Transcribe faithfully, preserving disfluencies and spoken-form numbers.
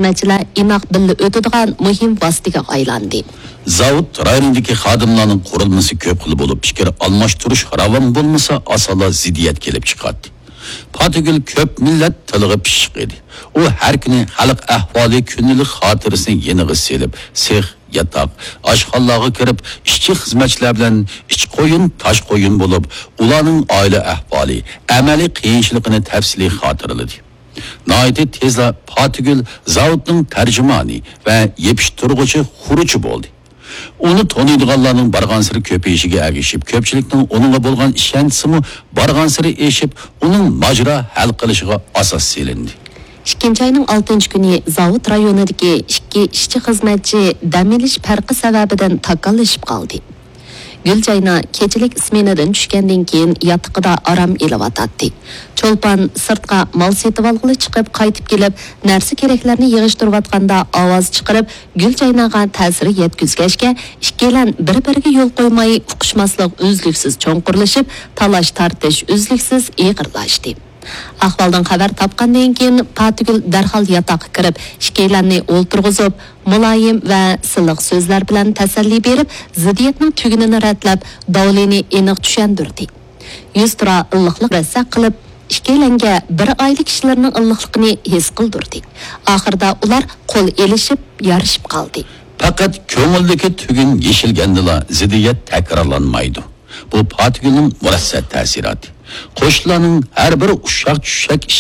خىزمەتچىلەر ئىناق بىللە ئۆتىدىغان مۇھىم ۋاسىتىگە ئايلاندى. زاۋۇت رايونىدىكى خادىملارنىڭ قۇرۇلمىسى كۆپ خىل بولۇپ، پىكىر ئالماشتۇرۇش راۋان بولمىسا، ئاسانلا زىددىيەت كېلىپ چىقاتتى. پاتىگۈل كۆپ مىللەت تىلىغا پىششىق ئىدى. ئۇ ھەر كۈنى خەلق ئەھۋالى، كۈندىلىك خاتىرىسىنى يېنىغا سېلىپ، سېخ، ياتاق، ئاشخانىلارغا كىرىپ، ئىشچى خىزمەتچىلەر بىلەن ئىچ قويۇن، تاش قويۇن بولۇپ، ئۇلارنىڭ ئائىلە ئەھۋالى، ئەمەلىي قىيىنچىلىقىنى تەپسىلىي خاتىرىلىدى. ناھايىتى تېزلا پاتىگۈل زاۋۇتنىڭ تەرجىمانى ۋە يېپىشتۇرغۇچى خۇرۇچى بولدى. ئۇنى تونۇيدىغانلارنىڭ بارغانسېرى كۆپىيىشىگە ئەگىشىپ، كۆپچىلىكنىڭ ئۇنىڭغا بولغان ئىشەنچىسىمۇ بارغانسېرى ئېشىپ، ئۇنىڭ ماجىرا ھەل قىلىشىغا ئاساس سېلىندى. ئىككىنچى ئاينىڭ ئالتىنچى كۈنى زاۋۇت رايونىدىكى ئىككى ئىشچى خىزمەتچى دەم ئېلىش پەرقى سەۋەبىدىن تاكاللىشىپ قالدى. گۈلجاينا كېچىلىك سمېنىدىن چۈشكەندىن كېيىن ياتىقىدا ئارام ئېلىۋاتاتتى. چولپان سىرتقا مال سېتىۋالغىلى چىقىپ قايتىپ كېلىپ، نەرسە كېرەكلەرنى يىغىشتۇرۇۋاتقاندا ئاۋاز چىقىرىپ، گۈلجايناغا تەسىر يەتكۈزگەچكە، ئىككىيلەن بىر-بىرىگە يول قويماي، ئۇقۇشماسلىق ئۈزلۈكسىز چوڭقۇرلىشىپ، تالاش-تارتىش ئۈزلۈكسىز ئېغىرلاشتى. ئەھۋالدىن خەۋەر تاپقاندىن كېيىن، پاتىگۈل دەرھال ياتاققا كىرىپ، ئىككىيلەننى ئولتۇرغۇزۇپ، مۇلايىم ۋە سىلىق سۆزلەر بىلەن تەسەللى بېرىپ، زىددىيەتنىڭ تۈگۈنىنى رەتلەپ، داۋلىنى ئېنىق چۈشەندۈردى. يۈزتۇرا ئىللىقلىق مۇرەسسە قىلىپ، ئىككىيلەنگە بىر ئائىلە كىشىلىرىنىڭ ئىللىقلىقىنى ھېس قىلدۇردى. ئاخىرىدا ئۇلار قول ئېلىشىپ، يارىشىپ قالدى. پەقەت كۆڭۈلدىكى تۈگۈن يېشىلگەندىلا، زىددىيەت تەكرارلانمايدۇ. بۇ پاتىگۈلنىڭ مۇرەسسە تەسىراتى. قوشنىلارنىڭ ھەر بىر ئۇششاق-چۈششەك ئىش